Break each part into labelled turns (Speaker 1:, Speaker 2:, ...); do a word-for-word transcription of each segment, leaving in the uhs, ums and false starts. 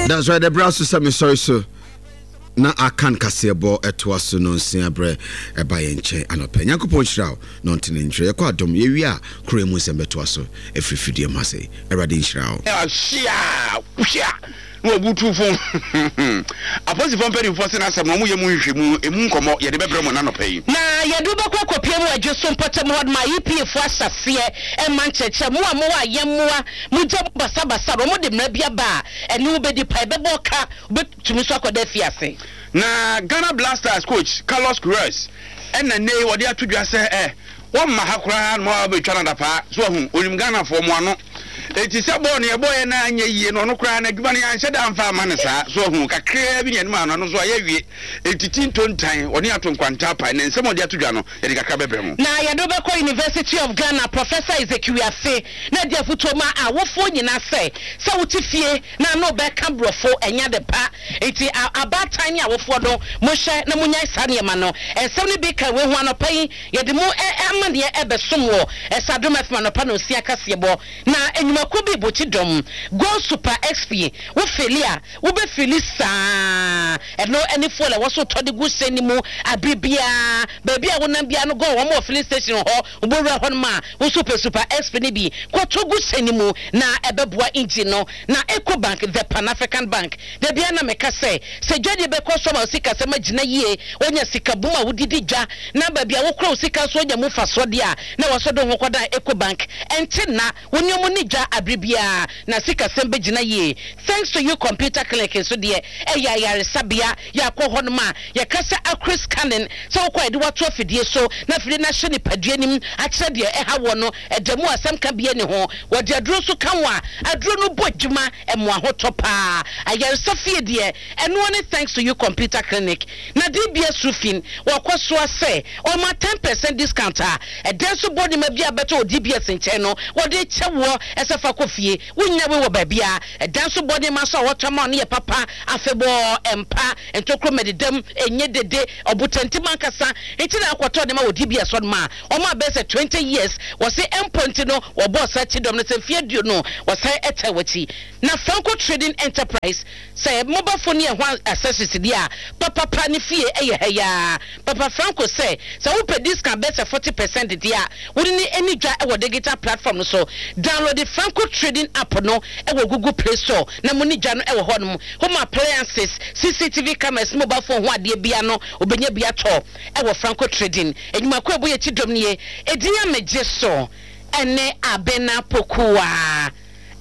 Speaker 1: That's right, the brass sɛ mesɔre so na aka nkaseɛbɔ ɛtoa so no nsia berɛ ɛba yɛn nkyɛn anɔpɛ. Nyankopɔn nhyira wo na ɔntene nkyerɛ. Yɛkɔ adom, yɛwie a kuro mu nsɛm bɛtoa so ɛfiri fidie mu ase. Awurade nhyira wo.
Speaker 2: Hyia hyia na wɔbutu fo apolisifoɔ mpanimfoɔ sɛ n'asɛm na wɔyɛ mu nhwehwɛmu emu nkɔmmɔ yɛde bɛbrɛ mo n'anɔpɛ yi.
Speaker 3: Na yɛde wobɛkɔ akɔpie mu adwo so mpɔtam hɔ ma E P A foɔ ahyɛseɛ ɛma nkyerɛkyerɛ mo a mowɔ ayɛmmoa mogya mu basabasa no, ɔmode mmara bi aba a ɛne wobɛdi pa, ɛbɛbɔ ka, wobɛtumi so akɔda afiase.
Speaker 2: Na Ghana Black Stars coach Carlos Queiroz ɛna nne wɔde ato dwa sɛ ɛ wɔmma ha koraa na ma wɔabɛtwa no adapaa so ahu onim Ghanafoɔ mo ano eti sɛ bɔɔl no yɛbɔɔyɛ na anyɛ yie no, ɔno koraa na adwuma no yɛanhyɛ da amfa ama no saa so ahu kakraa bi ne anim ano no so ayɛ awie eti ti ntontan ɔne ato nkwanta pae na nsɛm a ɔde ato dwa no yɛde kakra bɛbrɛ mu.
Speaker 3: Na yɛde wobɛkɔ University of Ghana, Professor Ezekiel Afe na di afotuo ma awofoɔ nyinaa sɛ sɛ wote fie na ano bɛka borɔfo ɛnya de pa, nti abaatan ne awofoɔ no monhyɛ na monyae saa nneɛma no. Ɛnsɛm no bi ka wei ho. Anɔpa yi yɛde mu amanneɛ ɛbɛsom wɔ ɛsadom F M anɔpa no nsia kaseɛbɔ. Na enyumakuo bi bɔkyi dɔm Go Super X P, wo fill a wobɛfill saa, ɛno ɛne fuel a ɛwɔ so tɔ de gu hyɛn no mu abere biara. Baabi a wonam biara no, go wɔn wɔ filling station hɔ, wobɛwura hɔ nom a woso pɛ Super X P no bi kɔtɔ gu hyɛn no mu na ɛbɛboa engine no. Na Eco Bank, the Pan African Bank, da bia na meka sɛ sɛ dwadeɛ bɛkɔ so ama wo sika sɛm agyina yie, wonya sika bum a wodidi dwa na baabi a wokora wo sika nso wonya mu mfasoɔ deɛ a, na wɔsɔ de ho kɔdan Eco Bank. Ɛnte na wo nneɛma ni dwa abere biara na sikasɛm bɛgyina yie. Thanks to You Computer Clinic nso deɛ, ɛyɛ ayaresabea. Yɛakɔ hɔ nom a yɛka sɛ accurate scanning, sɛ wokɔ a yɛde wato afidie so na afidie no ahyɛ nipadua nim akyerɛ deɛ ɛha wɔ no, ɛda mu asɛm ka bie ne ho. Wɔde aduro nso ka ho a aduro no bɔ adwuma ɛmo ahotɔ paa. Ayaresa fie deɛ, ɛnoɔ ne Thanks to You Computer Clinic. Na D B S Roofing wɔkɔ soa sɛ ɔma ten percent discount a ɛdɛn so bɔ nneɛma bi a bɛtɔ wɔ D B S nkyɛn no, wɔde kyɛ woɔ ɛsɛ fa kɔ fie, wonya wei wɔ baabi a ɛdan so bɔ nneɛma so a wɔtɔ ma no yɛ papa. Afebɔɔ ɛmpa ntokuro mɛdedam ɛnyɛ dede ɔbotantim ankasa nti na akɔtɔ nneɛma wɔ D B S hɔ nom a ɔmo abɛɛ sɛ twenty years wɔse ɛmpo nti no wɔbɔɔ saa akyi dɔm no sɛ mfeɛ aduonu wɔsan ɛtɛ w'akyi. Na Franco Trading Enterprise sɛ mobile phone yɛ ho accessories deɛ a papapa ne fie ɛyɛ ha yaa papa. Franco sɛ sɛ wopɛ discount bɛɛ sɛ forty percent deɛ a, wode ne ani dwa ɛwɔ digital platform no so. Download the Franco Trading app no ɛwɔ Google Play Store na mo ne dwa no ɛwɔ hɔ nom. Home appliances, C C T V cameras, mobile phone ho adeɛ bia no, obɛnya bi atɔ ɛwɔ Franco Trading. Enyimako ɛbɔ yɛ akyi dɔm nie. Edin amegye so ɛne Abena Pokuwa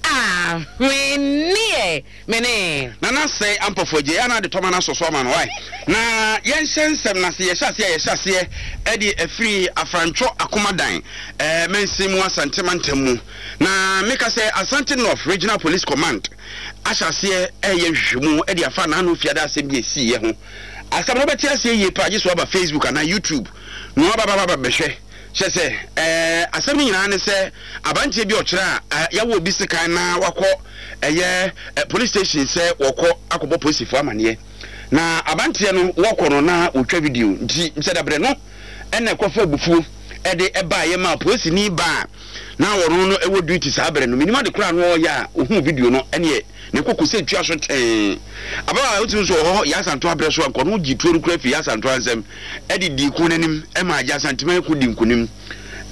Speaker 3: ahweneɛ mene.
Speaker 2: Nana sɛ ampɔfo agye ana de tɔma no asɔ so ama no wae na yɛnhyɛ nsɛm no ase. Yɛhyɛ aseɛ a yɛhyɛ aseɛ ɛde afiri Afrantwɔ Akomadan ɛɛ mansin mu, Asante mantam mu. Na meka sɛ Asante North Regional Police Command ahyɛ aseɛ ɛyɛ nhwehwɛmu ɛde afa n'ano fiada asɛm bi esiiɛ ho. Asɛm no bɛte aseɛ yie paa gye so aba Facebook anaa YouTube na waba bɛhwɛ kyɛ sɛ ɛɛ asɛm no nyinaa ne sɛ aberanteɛ bi ɔkyerɛ a yɛwɔ obi sekan na wakɔ ɛyɛ ɛ police station sɛ wɔkɔ akɔbɔ polisifoɔ amaneɛ, na aberanteɛ no wɔkɔ no na wɔtwa video nti sɛ dabrɛ no ɛna ɛkɔfa abufuo ɛde ɛbaayɛ ma polisini baa na wɔn no ɛwɔ duty saa abɛrɛ no minim ade koraa no ɔyɛ a ohun video no ɛneɛ ne koko sɛ tua so tɛn ababaawa a wotumi nso wɔ hɔ yɛ asanto abrɛ so a nkɔno gye tuo no kura fi yɛ asanto ansɛm ɛde di ko n'anim ɛma agye Asanteman ko di nkonim.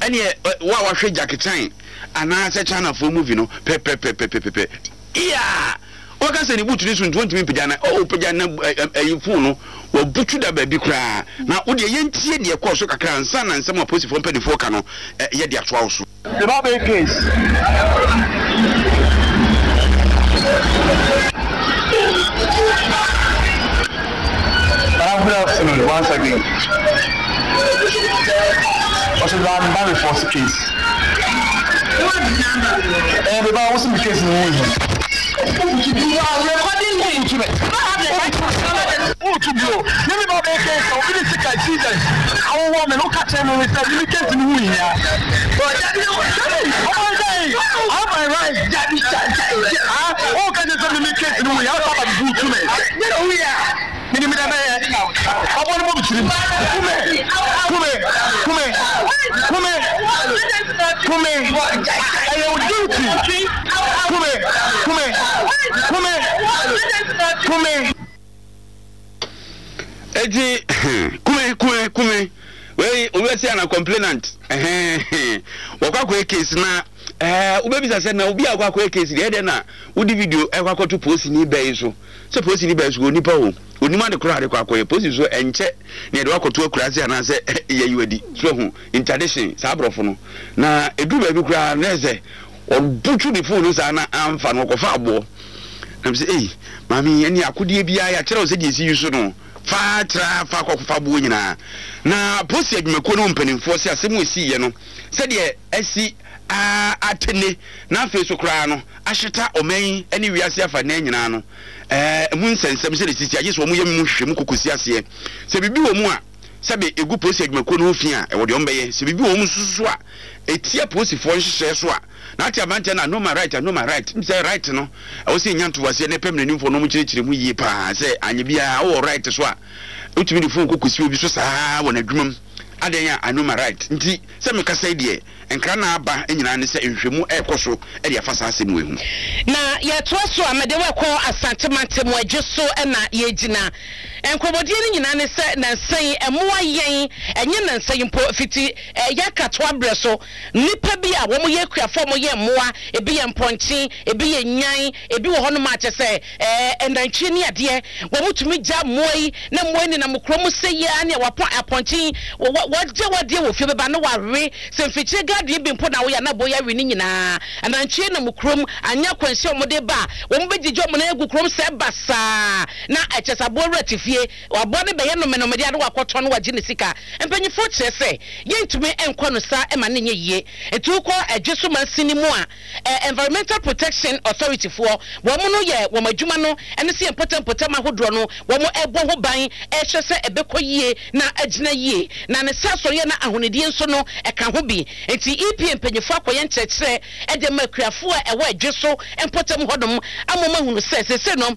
Speaker 2: Ɛneɛ wo a wahwɛ Jackie Chan anaasɛ Chinafoɔ movie no pɛpɛpɛpɛpɛpɛ iya, wɔka sɛ ne butu ne so nti wɔntumi mpagya na ɔwɔ pagya na ɛyi phone no wɔbutu da baabi koraa. Na wodeɛ yɛntie deɛ kɔɔ so kakra ansa na nsɛm a polisifoɔ mpanimfoɔ ka no yɛde atoa wo so.
Speaker 4: The Babel case. Madam, good afternoon once again. What's the man report case? Eh, the man, what's the case in the
Speaker 3: You are recording me. You don't have the right to
Speaker 4: Wotu bio ne mi ba bɛyɛ case a obi de sika Jesus awowɔ mi no ka kyerɛ mi sɛ mi case ni hu hia. Ɔmo sɛ I have my right. Ah, o ka kyerɛ sɛ mi mi case ni hu hia, ɔsɛ aba bi tu mi. Mini mi dɛ bɛyɛ ɔbɔ ne bɔ mi tirim. Kume kume kume kume kume, ɛyɛ o duty. Kume kume kume. Kume.
Speaker 2: Eti kume kume kume wei obi ana complainant ɛhɛn wɔkɔ akɔyɛ case na ɛɛ wobɛbisa sɛ na obi a akɔ akɔyɛ case deɛ, ɛdɛ na wodi video ɛkɔ akɔto polisini bɛyi so sɛ polisini bɛyi so wɔ nipa o, onim ade koraa ade kɔ akɔyɛ polisi so. Ɛnkyɛ na yɛde wakɔto akuraase anaasɛ yɛyi wadi so ɛho interdiction saa aborɔfo no na eduru baabi koraa na ɛsɛ ɔbutu ne phone no saa na amfa no ɔkɔfa aboɔ na sɛ ei, maame, ɛne akodeɛ biara yɛakyerɛ wo sɛ deɛ ɛsi yi so no fa tra fa kɔfa aboɔ nyinaa. Na polisi adwumakuo no mpanimfoɔ sɛ asɛm a ɛsiiɛ no, sɛdeɛ asi atene na afei so koraa no ahyeta ɔman yi ne wiase afa nan nyinaa no, ɛɛ mu nsɛnsɛm sɛdeɛ sisi agye sɛ wɔn yɛ mu hwehwɛ mu kɔkɔsi aseɛ sɛ biribi wɔ mu a sɛbe egu polisi adwumakuo no ho fi a, ɛwɔ deɛ wɔn bɛyɛ. Sɛ biribi wɔ mu nso so a etia polisifoɔ nhyehyɛɛ so a, na ate aberanteɛ no, "I know my right, I know my right." M sɛ right no, ɛwɔ sɛ nya ntowaseɛ ne pɛm n'animfoɔ no ɔmo kyerɛkyerɛ mu yie paa sɛ anyɛ biara wowɔ right so a wotumi de phone kɔkɔsi obi so saa wɔ n'adwuma mu adan a, "I know my right." Nti sɛ mekasa yi deɛ, nkra na aba nyinaa ne sɛ nhwehwɛmu ɛrekɔ so ɛde afa saa asɛm wei ho.
Speaker 3: Na yɛtoa so a, mede wɔkɔ Asante mu adwo so ɛna yɛgyina nkɔmmɔdie no nyinaa ne sɛ nansa yi ɛmoa yɛn, ɛnyɛ nansa yi mpo, fiti ɛyɛ akatoa berɛ so, nnipa bi a wɔn yɛ akuafoɔ, wɔn yɛ mmoa, ebi yɛ mpɔnkye, ebi yɛ nyan, ebi wɔ hɔnom a kyɛ sɛ ɛɛ ɛnantwie ne adeɛ, wɔn tumi gya mmoa yi na mmoa yi nenam kurom sɛ yia ne wapɔn apɔnkye wɔgye wadeɛ wɔ fie bɛba na wawe sɛ mfikyire garden bi mpo na woyɛ na boya wi ne nyinaa. Anantwie nam kurom anya akwanhyia a wɔde ba a, wɔn bɛgyigye wɔn nan agu kurom sɛ basaa na ɛkyɛ sɛ aboa wura te fie, aboa no bɛyɛ nomenomedeɛ ade wakɔtɔn no wagye ne sika. Mpanyinfoɔ kyerɛ sɛ yɛntumi nkɔ no saa ɛma ne nyɛ yie. Nti wokɔ ɛdwe so mansini mu a, ɛ Environmental Protection Authority foɔ, wɔn no yɛ wɔn adwuma no ɛne sɛ yɛn mpɔtam ahodoɔ no wɔn ɛbɔ ho ban, ɛhwɛ sɛ ɛbɛkɔ yie na agyina yie na ne sa asɔreɛ na ahonidie nso no ɛka ho bi. Nti E P A mpanyinfoɔ akɔyɛ nkyerɛkyerɛ ɛde ma akuafoɔ a ɛwɔ ɛdwe so mpɔtam hɔnom ama wɔn ahunu sɛ sese no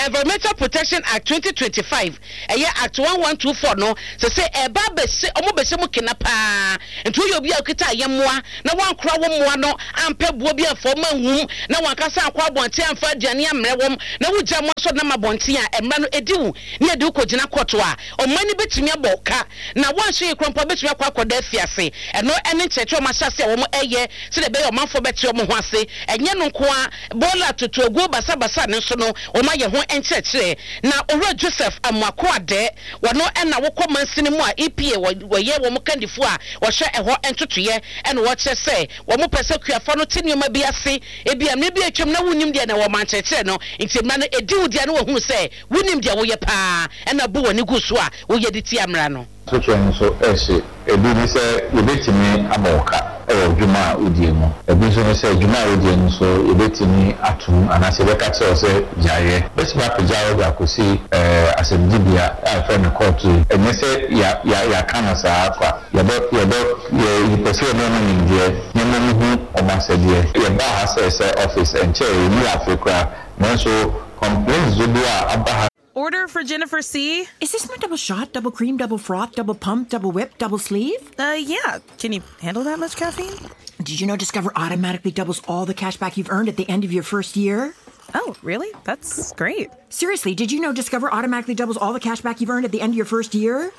Speaker 3: Environmental Protection Act twenty twenty-five, ɛyɛ Act one one two four no, sese ɛba abɛhyɛ ɔmo bɛhyɛ mu kena paa. Nti woyɛ obi a okita ayɛmmoa na wankora wo mmoa no ampɛ boɔ bi amfa ɔmo anwum na wankasa ankɔ abɔnten amfa aduane ammerɛ wɔm na wogya mo asɔ nam abɔnten a, mmara no edi wo ne yɛde wo kɔgyina kɔto a, ɔman no bɛtumi abɔ ka na wanhyɛ yi kora mpo bɛtumi akɔ akɔda afiase. Ɛno ɛne nkyerɛkyerɛ ɔmo ahyɛ ase a wɔn ɛyɛ sɛdeɛ ɛbɛyɛ ɔmanfoɔ bɛte ɔmo ho ase. Ɛnyɛ no nko a, bɔɔla totoaguo basabasa ne nso no, wɔn ayɛ ho nkyerɛkyerɛ. Na Owura Joseph Amoako Adɛ, wɔno ɛna wokɔ mansini mu a E P A wɔyɛ wɔn kandifoɔ a wɔhwɛ ɛhɔ ntotoyɛ, ɛna wɔkyerɛ sɛ wɔn pɛ sɛ kuafoɔ no te nneɛma bi ase. Ebi a mmerɛ bi atwam na wonim deɛ na wɔn ankyerɛkyerɛ no, nti mmara no edi wo deɛ no, wɔhunu sɛ wonim deɛ woyɛ paa ɛna bu wɔn gu so a woyɛ de tia mmara no.
Speaker 5: Sotwe nso ɛhyɛ ebi ne sɛ yɛbɛtumi abɔ wo ka ɛwɔ dwuma a wodie mu. Ebi nso ne sɛ dwuma a wodie no nso yɛbɛtumi atom anaasɛ yɛbɛka kyerɛ wo sɛ gyaeɛ. Bɛtumi apagya wo de akɔsi ɛɛ asɛmdibea a yɛfrɛ no kɔɔto yi. Ɛnyɛ sɛ ya ya yɛaka no saa kwa. Yɛbɛ yɛbɛ yɛ yɛpɛ sɛ yɛma ɔmo nimdeɛ nneɛma mu hu ɔmo asɛdeɛ. Yɛbaa ha sɛ sɛ office ɛnkyɛɛ yɛnni afe koraa, nanso complaints dodoɔ a aba ha.
Speaker 6: Order for Jennifer C.
Speaker 7: Is this my double shot, double cream, double froth, double pump, double whip, double sleeve?
Speaker 6: Uh, yeah. Can you handle that much caffeine?
Speaker 7: Did you know Discover automatically doubles all the cash back you've earned at the end of your first year?
Speaker 6: Oh, really? That's great.
Speaker 7: Seriously, did you know Discover automatically doubles all the cash back you've earned at the end of your first year?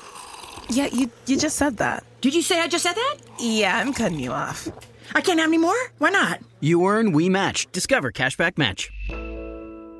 Speaker 6: Yeah, you you just said that.
Speaker 7: Did you say I just said that?
Speaker 6: Yeah, I'm cutting you off.
Speaker 7: I can't have any more? Why not?
Speaker 8: You earn, we match. Discover Cashback Match.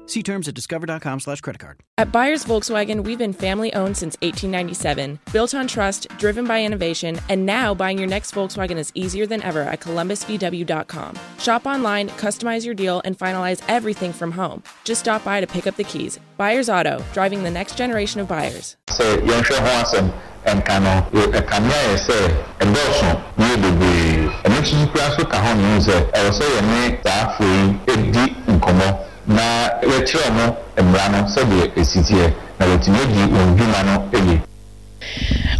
Speaker 8: See terms at discover dot com slash credit card.
Speaker 9: At Byers Volkswagen, we've been family owned since eighteen ninety-seven, built on trust, driven by innovation, and now buying your next Volkswagen is easier than ever at Columbus V W dot com. Shop online, customize your deal, and finalize everything from home. Just stop by to pick up the keys. Byers Auto, driving the next generation of buyers.
Speaker 5: Sɛ yɛnhwɛ ho asɛm ɛnka no, ɛkame ayɛ sɛ ɛdɔɔso na yɛ bebree. Ɛno nso so koraa so ka ho ne sɛ ɛwɔ sɛ yɛne saa afoɔ yi di nkɔmmɔ na yɛkyerɛ mo mmara no sɛdeɛ ɛsi teɛ na wɔatumi adi wɔn dwuma no yie.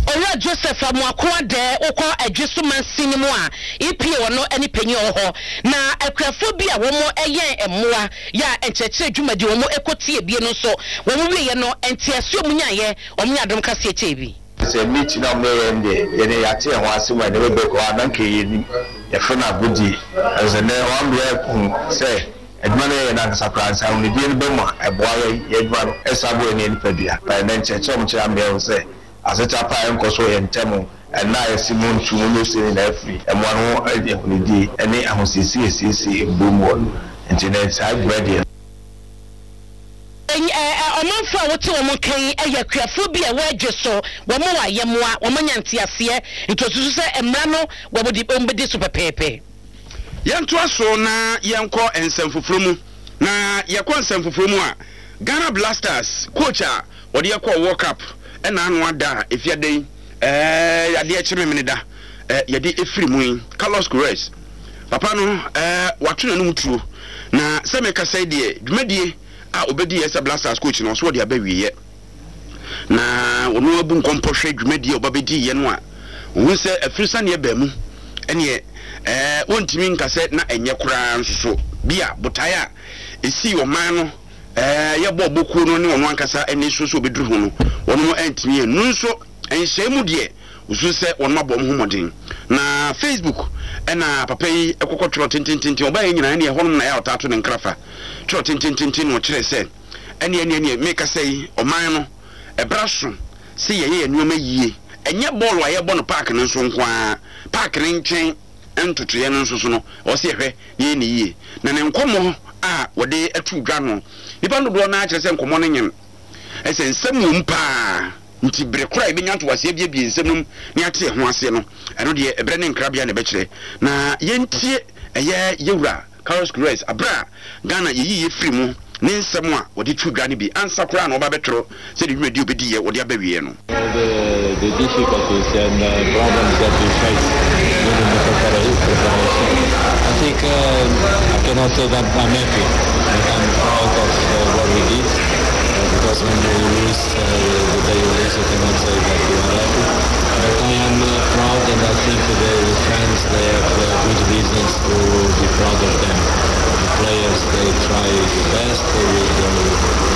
Speaker 3: Owura Joseph Amoako Adɛ, wokɔ adwe so mansini mu a, E P A wɔ ne panyin wɔ hɔ. Na akuafoɔ bi a wɔn yɛn mmoa yɛ a nkyerɛkyerɛ dwumadi wɔn kɔ tie bie no nso, wɔn wieɛ no, nteaseɛ mu nyaeɛ wɔn nyɛ adom kaseɛ kyɛɛ bi.
Speaker 5: Sɛ meet na ɔmo yɛ deɛ, yɛne yɛate yɛn ho ase ma nneɛma bɛkɔ a na nka yɛnim yɛfrɛ no agodie. Ɛsɛ nɛ wɔn bɛ hu sɛ
Speaker 4: Adwuma no yɛyɛ no ankasa koraa nsa ahonidie no bɛ mu a, ɛboa yɛn yɛn adwuma no ɛsa boa yɛn ne yɛn nipadua. Na ɛnɛ nkyerɛkyerɛ a wɔkyerɛ ama yɛahu sɛ asetra pa a ɛnkɔ so wɔ yɛn ntam ɛnnɛ a yɛse montu monyɛ sei nyinaa afiri mmoa no ho ahonidie ne ahosiesie asiesie mbuo mu hɔ no nti nnɛ saa dwumadie no.
Speaker 3: Ɔmanfoɔ a wote wɔn nka yi yɛ akuafoɔ bi a ɛwɔ Adwe so. Wɔn wɔ ayɛmmoa, wɔanya nteaseɛ, nti wɔsusu sɛ mmara no wɔde wɔbɛdi so pɛpɛɛpɛ.
Speaker 2: Yɛntoa so na yɛnkɔ nsɛm foforɔ mu. Na yɛkɔ nsɛm foforɔ mu a, Ghana Blasters coach a wɔde yɛ kɔɔ World Cup ɛna ano ada a efi ada yi ɛɛ adeɛ kye Memeneda ɛɛ yɛde efiri mu yi, Carlos Queiroz papa no ɛɛ wato n'anum tuo na sɛ mekasa yi deɛ dwumadie a obedi yɛ sɛ Blasters coach no ɔso wɔde aba wieɛ na ɔno abu nkɔmpɔ hwɛ dwumadie a ɔba bɛdi yɛ no a ohun sɛ afiri saneɛ baa mu ɛneɛ ɛɛ wɔntumi nka sɛ na ɛnyɛ koraa nso so bi a botaeɛ a ɛsii ɔman no ɛɛ yɛbɔ bokuo no ne ɔno ankasa ɛne so so obɛduru ho no wɔn ɛntumi ɛnu nso nhyɛn mu deɛ osu sɛ wɔn abɔ wɔn ho mmɔden. Na Facebook ɛna papa yi ɛkɔkɔ twerɛ tentententen ɔbaa yi nyinaa ɛne ɛhɔnom na yɛ a ɔtaa to ne nkrafa twerɛ tentententen na ɔkyerɛ sɛ ɛne ɛne ɛne mekasa yi ɔman no ɛbra so sɛ yɛyɛ yɛ nneɛma yie ɛnyɛ bɔɔlo a yɛbɔ no park no nso nko ara park ne nkyɛn ntotoeɛ no nso so no ɔsɛ yɛhwɛ na yɛ ne yie. Na ne nkɔmmɔ a wɔde ato dwa no nipa dodoɔ no akyerɛ sɛ nkɔmmɔ no nyem ɛsɛ nsɛm wɔ mu paa nti bere koro a yɛbɛnya ntoaseɛ abiebie nsɛm no mu ne ate ɛho aseɛ no ɛno deɛ ɛberɛ ne nkrabea na ɛbɛkyerɛ. Na yɛntie ɛyɛ yɛwura Carlos Queiroz aberɛ a Ghana yɛyi yɛ firi mu ne nsɛm a wɔde to dwa no bi ansa koraa na ɔba bɛtwerɛ sɛ ne dwumadi obɛdi yɛ wɔde aba wieɛ no.
Speaker 10: All the, the difficulties and uh, problems that we face during the preparation. I think uh, I cannot say that I'm happy, but I'm proud of uh, what we did. Uh, because when you lose, uh, the day you lose, you cannot say that you are happy. But I am uh, proud, and I think the, the fans, they have uh, good reasons to be proud of them. The players, they try the best, they were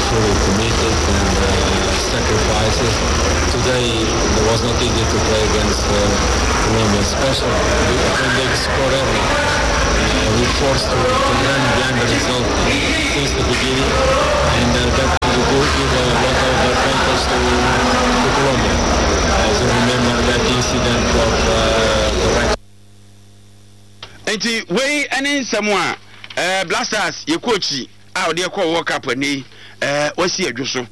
Speaker 10: fully committed and uh, sacrifices. Today, it was not easy to play against uh, Colombia, especially when they score early. Uh, we forced to, to run behind the result since the beginning, and uh, that will give a lot of advantage to, to Colombia. As you remember that incident of uh, the right.
Speaker 2: Nti wei ɛne nsɛm a ɛɛ Blasters yɛ coach a ɔde ɛkɔ World Cup ɛnɛ yi ɛɛ wasi adwo so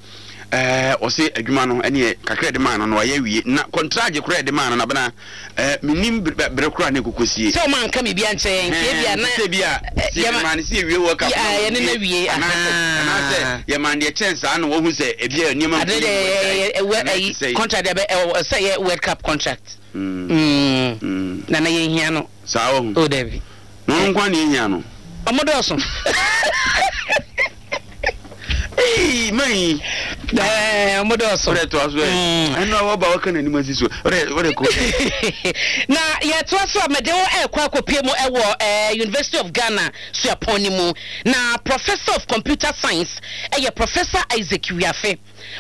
Speaker 2: ɛɛ ɔsi adwuma no ɛne kakra ɛde maa no no ɔyɛ wie na contract koraa ɛde maa no nabena ɛɛ minim bere koraa ne koko sie.
Speaker 3: Sɛ ɔmo anka biribi ankyɛn nti ebi a na
Speaker 2: sɛ bi a sɛ yɛ maa ne si ewie World Cup
Speaker 3: na yɛne na wie
Speaker 2: anaasɛ anaasɛ yɛ maa deɛ kyɛn saa na wɔhu sɛ ebi a nneɛma
Speaker 3: ade deɛ ɛwɛ ɛyi contract deɛ bɛ ɛwɔ sɛ yɛ World Cup contract. Mm. Na na yɛn hia no.
Speaker 2: Saa wɔ
Speaker 3: ho. O dabi.
Speaker 2: Na ɔno nkwa na yɛn hia no.
Speaker 3: Ɔmo dɔɔso.
Speaker 2: Ee man.
Speaker 3: Ɛɛ ɔmo dɔɔso.
Speaker 2: O de to aso ɛ. Ɛnu a wɔba wɔka n'anim asi so. O de o de ko.
Speaker 3: Na yɛtoa so a mɛde wo ɛkɔ akɔpie mu ɛwɔ ɛɛ University of Ghana suapɔn ne mu na Professor of Computer Science ɛyɛ Professor Isaac Wiafe.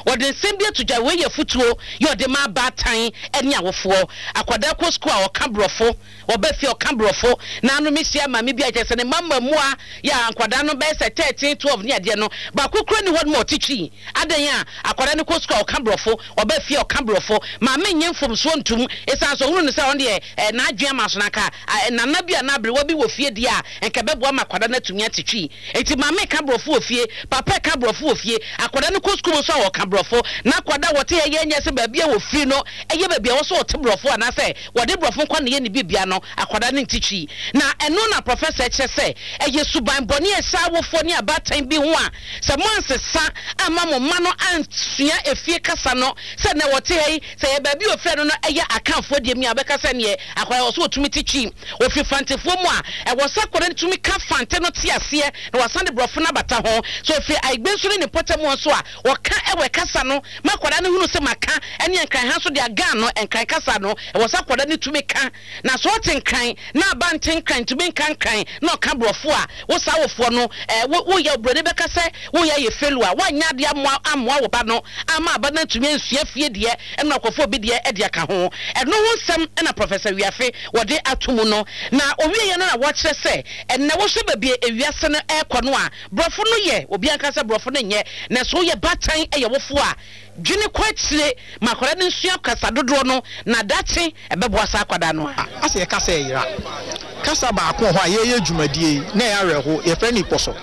Speaker 3: Wɔde nsɛm bi ato dwa, wei yɛ afotuo yɛ ɔde ma abaatan ne awofoɔ. Akwadaa kɔ sukuu a ɔka borɔfo, ɔba fie a ɔka borɔfo. Na ano mehyia maame bi a kyerɛ sɛ ne mma mmaamua yɛ a nkwadaa no bɛyɛ sɛ thirteen, twelve ne adeɛ no, baako koraa nni hɔ nom a ɔte Twi. Adɛn a akwadaa no kɔ sukuu a ɔka borɔfo, ɔba fie a ɔka borɔfo. Maame nnye mfomsoɔ ntom ɛsiane sɛ ɔhunu no sɛ ɔno deɛ eh, n'adwene ama so na anka eh, nana bi anaa aberewa bi wɔ fie deɛ a nka ɛbɛboa ma akwadaa no atumi ate Twi. Enti maame reka borɔfo wɔ fie, papa reka borɔfo wɔ fie, akwadaa no kɔ sukuu mu nso a wɔka borɔfo. Na akwadaa a wɔte ha yi nyɛ sɛ baabi a wɔfiri no yɛ baabi a ɛwɔ sɛ wɔte borɔfo anaasɛ wɔde borɔfo nko ara na ɛyɛ ne biribiara no, akwadaa no nte Twi. Na ɛno na prɔfɛsa kyerɛ sɛ ɛyɛ suban bɔne a ɛhyɛ awofoɔ ne abaatan bi ho a sɛ moansesa amma mo mma no ansua efie kasa no sɛ nnɛ wɔte ha yi, sɛ ɛyɛ baabi a wɔfiri no no yɛ Akanfoɔ deɛ mi a wɔbɛka sɛ neɛ akwadaa ɛwɔ sɛ wɔtumi te Twi. Wɔfiri Fantefoɔ mu a, ɛwɔ sɛ akwadaa no tumi ka Fante no te aseɛ na wasan de borɔfo no abata ho. Sɛ ɔfiri Aigbe nso ne ne mpɔtam hɔ nso a, wɔka Ewe kasa no ma akwadaa no hunu sɛ maka ne Nkran ha nso deɛ Agan no, Nkran kasa no, ɛwɔ sɛ akwadaa no tumi ka. Na sɛ ɔte Nkran na aba nte Nkran, ntumi nka Nkran na ɔka borɔfo a, wo saa awofoɔ no, eh, wo, woyɛ, oburoni bɛka sɛ woyɛ ayɛ failure, woanyɛ adeɛ ammoa, ammoa wo ba no amma aba no antumi ansua fie deɛ ɛna ɔkɔfa obi deɛ de aka ho. Ɛno ho nsɛm na Professor Wiafe Wiafe wɔde ato mu no. Na ɔwieeɛ no na wɔkyerɛ sɛ ɛnnɛ wohwɛ baabi a ewiase no rekɔ no a, borɔfo no yɛ, obiara nka sɛ borɔfo no nyɛ, nanso woyɛ baatan yɛ wofoɔ a, dwene kɔ akyire ma akwadaa no nsua kasa dodoɔ no na daakye ɛbɛboa saa akwadaa no a.
Speaker 11: Asɛ yɛka sɛ ɛyera. Kasa baako wɔ hɔ a yɛreyɛ dwumadie yi na ɛyɛ awerɛho, yɛfrɛ no Ikpɔsɔ.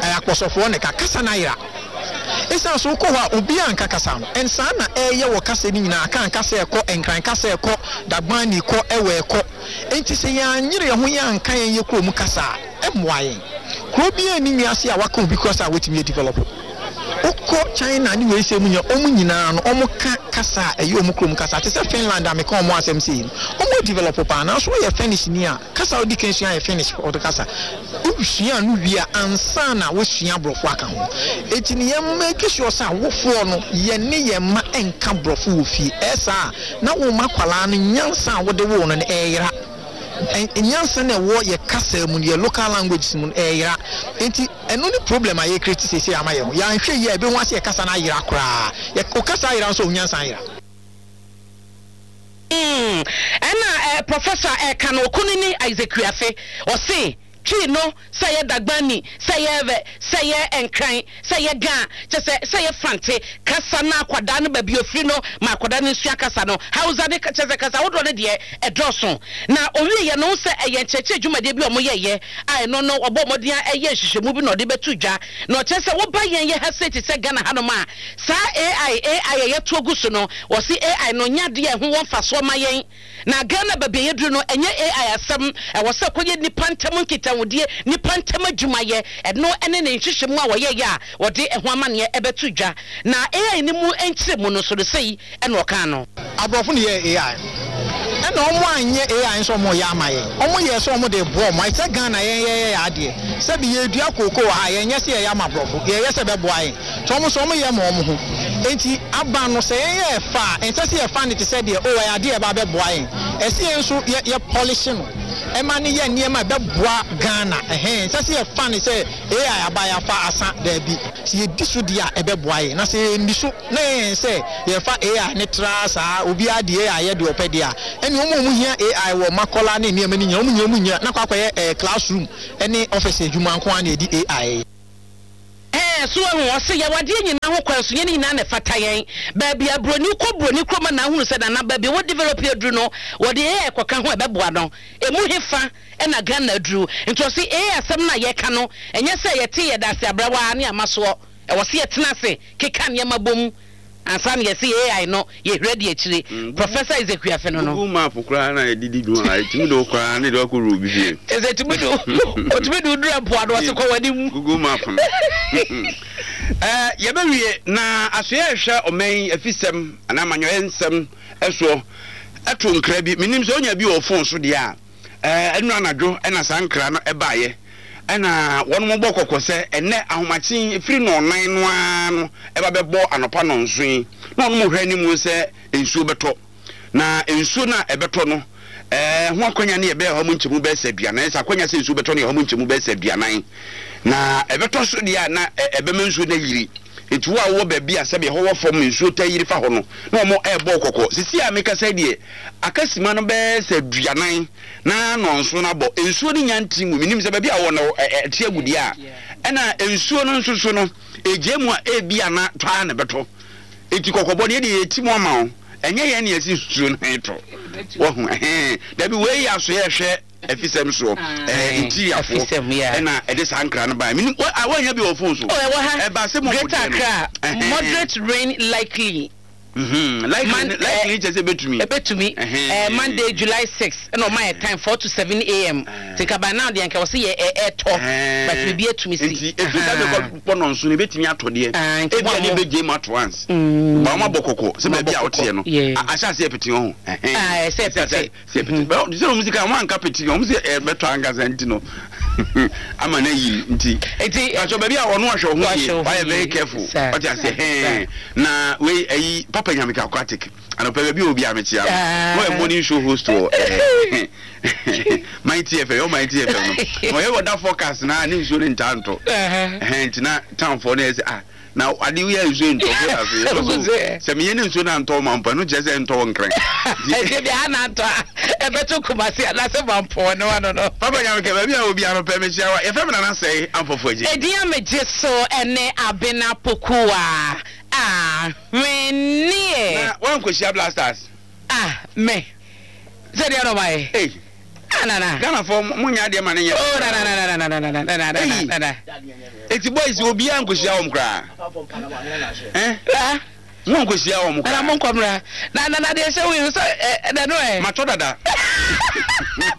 Speaker 11: Ɛyɛ Akpɔsɔfoɔ na ɛka. Kasa no ayera. Ɛsiane sɛ wokɔ hɔ a obiara nka kasa no. And saa na ɛreyɛ wɔ kasa no nyinaa. Akan kasa ɛkɔ, Nkran kasa ɛkɔ, Dagbani kɔ, Ewe ɛkɔ. Enti sɛ yɛanyere yɛn ho yɛanka yɛn yɛ kurom kasa a, ɛmmoa yɛn. Kuro biara nni wiase a waka obi kasa a watumi adevelop. Wokɔ China ne wei sɛ mu nyinaa, wɔn nyinaa no wɔka kasa a ɛyɛ wɔn kurom kasa. Te sɛ Finland a meka wɔn asɛm sei no, wɔn adevelop paa. Nanso woyɛ Finnish ni a, kasa a wodi kan sua yɛ Finnish kasa. Wosua no wie a, ansa na woasua Borɔfo aka ho. Enti no yɛn make sure sɛ awofoɔ no, yɛne yɛn mma nka Borɔfo wɔ fie. Ɛyɛ saa a, na wo mma akwadaa no nyansa a wode woo no no ɛreyera. Nyansa no a ɛwɔ yɛ kasa mu no, yɛ local languages mu no ɛreyera. Enti ɛno ne problem a yɛ create seesei ama yɛn ho. Yɛanhwɛ yie a, yɛbɛhu ara sɛ yɛ kasa no ayera koraa. Yɛ, wo kasa ayera nso a, wo nyansa ayera.
Speaker 3: Mm, ɛna eh, Professor ɛka no, Okunini Isaac Wiafe, ɔse, Twi no, sɛ ɛyɛ Dagbani, sɛ ɛyɛ Ewe, sɛ ɛyɛ Nkran, sɛ ɛyɛ Ga, kyerɛ sɛ, sɛ ɛyɛ Fante, kasa no akwadaa no baabi a ɔfiri no ma akwadaa no nsua kasa no. Hausa ne kyerɛ sɛ kasa ahodoɔ no deɛ, ɛdɔɔso. Na ɔwieeɛ no, wohu sɛ ɛyɛ nkyerɛkyerɛ dwumadie bi a wɔyɛeɛ a ɛno no wɔbɔɔ mmɔden ara yɛɛ nhwehwɛmu bi na wɔde bɛto dwa. Na ɔkyerɛ sɛ woba yɛn yɛ ha sei te sɛ Ghana hanom a, saa A I, A I a yɛto agu so no, wɔse A I no nyɛ adeɛ a ɛho wɔ mfasoɔ ma yɛn. Na Ghana baabi a yɛduru no, ɛnyɛ A I asɛm. Ɛwɔ sɛ ɛkɔyɛ nnipa ntam nkitahodie, nnipa ntam adwumayɛ. Ɛno ne ne nhwehwɛmu a wɔyɛeɛ a wɔde ɛho amanneɛ bɛto dwa. Na A I no mu nkyerɛmu no nso no, sei na ɔkaa no.
Speaker 11: Aborɔfo na yɛɛ A I no. Ɛna ɔmo anyɛ A I nso ɔmo reyɛ ama yɛn. Ɔmo yɛɛ sɛ ɔmo de reboa ɔmo. Ayɛ sɛ Ghana yɛn yɛyɛ yɛn adeɛ. Sɛbi yɛredua kookoo wɔ ha a, yɛnyɛ sɛ yɛyɛ ama aborɔfo. Yɛyɛ sɛ ɛbɛboa yɛn. Nti ɔmo nso ɔmo yɛ ma ɔmo ho. Enti aba no sɛ yɛn yɛ fa a, ɛnsɛ sɛ yɛfa no te sɛ deɛ oh ɛyɛ adeɛ a ɛba abɛboa yɛn. Ɛsɛ yɛn nso yɛ yɛ polish no ɛma no yɛ nneɛma a ɛbɛboa Ghana. Ɛhɛn, ɛnsɛ sɛ yɛfa no sɛ A I aba yɛafa asa, daabi. Sɛ yɛdi so deɛ a ɛbɛboa yɛn, na sɛ yɛnni so na yɛyɛ yɛn sɛ yɛfa A I no tra saa, obiara de A I yɛ deɛ ɔpɛ deɛ a, ɛnneɛ wɔn a wɔhia A I wɔ Makola ne nneɛma no nyinaa, wɔn nyinaa wɔnnya, na akɔ akɔyɛ ɛɛ classroom ne office adwuma nko ara na yɛde A I yɛ.
Speaker 3: Ɛɛ, so wahu? Ɔse, yɛwɔ adeɛ nyinaa ho kwan, so nyɛ ne nyinaa na ɛfata yɛn. Baabi a broni kɔ broni kurom a na ahunu sɛ nana baabi a wɔ develop aduru no, wɔde A I kɔka ho a ɛbɛboa no. Ɛmu hefa na Ghana aduru? Nti ɔse A I asɛm no a yɛka no, ɛnyɛ sɛ yɛte yɛda ase abrɛ waa ne ama soɔ. Ɛwɔ se yɛtena ase keka nneɛma bom ansa na yɛse A I no yɛhwira di akyire. Professor Isaac Wiafe no no.
Speaker 2: Google map koraa na yɛde di dwuma a, ɛtumi de wo koraa ne de wo akɔwura obi fie.
Speaker 3: Kyerɛ sɛ ɛtumi de wo, ɔtumi de wo duru mpoano, ɔse kɔ w'anim.
Speaker 2: Google map no. Ɛɛ, yɛbɛwie na asoɛeɛ a ɛhwɛ ɔman yi afisɛm anaa amanyɔeɛ nsɛm soɔ to nkra bi. Mennim sɛ wonya bi wɔ wo fon so deɛ a. Ɛɛ, ɛnnora anadwo na saa nkra no baeɛ. Ɛna wɔnom bɔ kɔkɔ sɛ ɛnnɛ ahomakye yi, ɛfiri nnɔnnan no ara no ɛba bɛbɔ anɔpa nnɔnson yi, na wɔnom hwɛ anim sɛ nsuo bɛtɔ. Na nsuo no a ɛbɛtɔ no, ɛɛ, ho akwanya no yɛ bɛyɛ ɔha mu nkyɛmu bɛyɛ sɛ aduanan. Sɛ akwanya sɛ nsuo bɛtɔ no yɛ ɔha mu nkyɛmu bɛyɛ sɛ aduanan. Na ɛbɛtɔ so deɛ a, na ɛbɛma nsuo no ayiri. Enti wo a wowɔ baabi a sɛdeɛ ɛhɔ wɔ fam nsuo taa yiri fa hɔ no, na wɔrebɔ wo kɔkɔ. Seesei a mekasa yi deɛ, aka simma no bɛyɛ sɛ aduanan na nnɔnson no abɔ. Nsuo no nnya nte ngui. Mennim sɛ baabi a wowɔ no ɛte agu deɛ a. Ɛna nsuo no nso so no, ɛgyae mu a, ebia na tɔ ara na ɛbɛtɔ. Enti kɔkɔbɔ no, yɛn deɛ yɛti mu ama wo. Ɛnyɛ yɛn na yɛse nsuo no retɔ. Wahu? Ɛhɛn. Dabi, wei yɛ asoɛeɛ hwɛ. Afisɛm soɔ ɛɛ interiorfoɔ ɛna ɛde saa nkra no baeɛ. Menim a woannya bi wɔ phone so.
Speaker 3: Oh, ɛwɔ ha.
Speaker 2: Ɛba sɛ mo
Speaker 3: Greater Accra, moderate rain likely.
Speaker 2: Mm-hmm. Likely, Man, likely kyɛ sɛ ɛbɛtumi.
Speaker 3: Ɛbɛtumi. Eh, Monday, July six, ɛna ɔma yɛ time four to seven A M. Nti nka by now deɛ nka wɔsi yɛ ɛɛtɔ, but biribi atumi si.
Speaker 2: Nti efi saa bɛ kɔ bɔ nɔnso no ebɛtumi atɔ deɛ. Ebi a ne bɛ gye mu ato once. Ba wɔn abɔ kɔkɔ sɛ baabi a woteɛ no. Ahyɛ aseɛ pete ɔho.
Speaker 3: Ɛsɛ pete.
Speaker 2: Sɛ pete bɛ sɛ wɔn sika wɔn anka pete wɔn sɛ ɛbɛtɔ ankasa nti no ama na yiri nti.
Speaker 3: Nti
Speaker 2: pàtó baabi a ɔno ahwɛ ɔho yie wayɛ very careful ɔte ase hɛn na wei ɛyi papa nyamika aquatic anɔpɛ baabi a obi a mekyia no na ɔyɛ morning show host wɔ ɛɛ Mighty F M yɛ Mighty F M no ɔyɛ wɔ da forecast na ne nsuo ne ntaa ntɔ ɛhɛn nti na town foɔ no yɛ sɛ ah. Na ade yɛ nsuo ntɔ fo ase. Sɛ meyɛ ne nsuo na ntɔ ma mpa no kyerɛ sɛ ntɔ wɔ Nkran.
Speaker 3: Ɛdeɛ bi ha na ntɔ a ɛbɛto Kumasi anaasɛ Mampɔn ne wa no no.
Speaker 2: Papa Nyame kɛ baabi a obi ano pɛ mehyia wa. Yɛfrɛ me Nana Sɛe Amfɔfo Agye.
Speaker 3: Edin a megye so ɛne Abena Pokuwa Ahweneɛ.
Speaker 2: Na wankɔhyia Blasters?
Speaker 3: Ah, me. Sɛ deɛ na ɔma yɛ.
Speaker 2: Ei.
Speaker 3: Ah, Nana.
Speaker 2: Ghanafoɔ mo nyɛ adeɛ ma ne nyɛ.
Speaker 3: Oh, Nana, Nana, Nana, Nana, Nana, Nana, Nana.
Speaker 2: Eti boys obiara nkɔhyia wɔn koraa. Eh?
Speaker 3: Ah.
Speaker 2: Mo nkɔhyia wɔn koraa.
Speaker 3: Nana mo nkɔmra. Na na na deɛ hyɛ wo yi sɛ ɛ ɛdɛ no ɛ.
Speaker 2: Matɔ dada.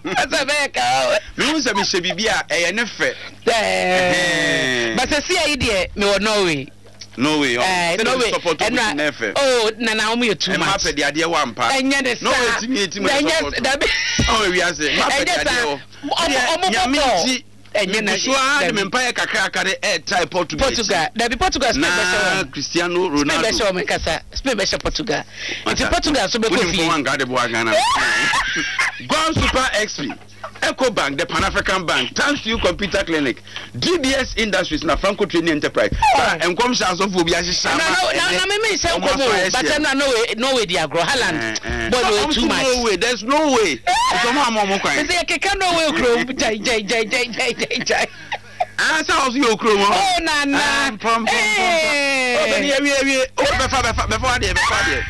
Speaker 3: Sɛ bɛyɛ ka o.
Speaker 2: Mehu sɛ mehyɛ biribi a ɛyɛ ne fɛ.
Speaker 3: Ɛɛ. Basɛ si ayi deɛ mewɔ Norway.
Speaker 2: Norway ɔ.
Speaker 3: Eh, Norway.
Speaker 2: Support
Speaker 3: ɛnna
Speaker 2: ne fɛ.
Speaker 3: Oh, nana wɔn yɛ too much.
Speaker 2: Ɛma pɛ de adeɛ wɔ ampa.
Speaker 3: Ɛnyɛ ne saa.
Speaker 2: Norway ti mi eti mu yɛ support.
Speaker 3: Dabi.
Speaker 2: Ɔwɔ wiase. Ɛma pɛ de adeɛ wɔ.
Speaker 3: Ɔmo ɔmo bɔ bɔɔl. Ɛnyɛ na
Speaker 2: so ara de me mpa yɛ kakra de ɛɛtae Portugal.
Speaker 3: Portugal dabi Portugal Spain bɛhyɛ wɔn.
Speaker 2: Na Cristiano Ronaldo.
Speaker 3: Spain bɛhyɛ wɔn nkasa Spain bɛhyɛ Portugal. Nti Portugal nso bɛkɔ fie.
Speaker 2: Wọ́n fún wa de boa Ghana. Gone Super X P, Eco Bank, the Pan African Bank, Thanks You Computer Clinic, D B S Industries na Franco Trading Enterprise. Sa nkɔm hyɛ asɔfo bi ahyehyɛ ama.
Speaker 3: Na na na mi mi nhyɛ nkɔm o, but ɛna Norway Norway di agorɔ Haaland bɔɔl no too much.
Speaker 2: No way, there's no way. Nsɔmɔ ama ɔmo kwan.
Speaker 3: Sɛ yɛ keka Norway kurom jai jai jai jai jai jai jai.
Speaker 2: Ah, sɛ ɔso yɛ okurom hɔ.
Speaker 3: Oh, nana.
Speaker 2: Pɔm pɔm pɔm. Ɔbɛni awie awie. O bɛfa bɛfa bɛfa adeɛ bɛfa adeɛ.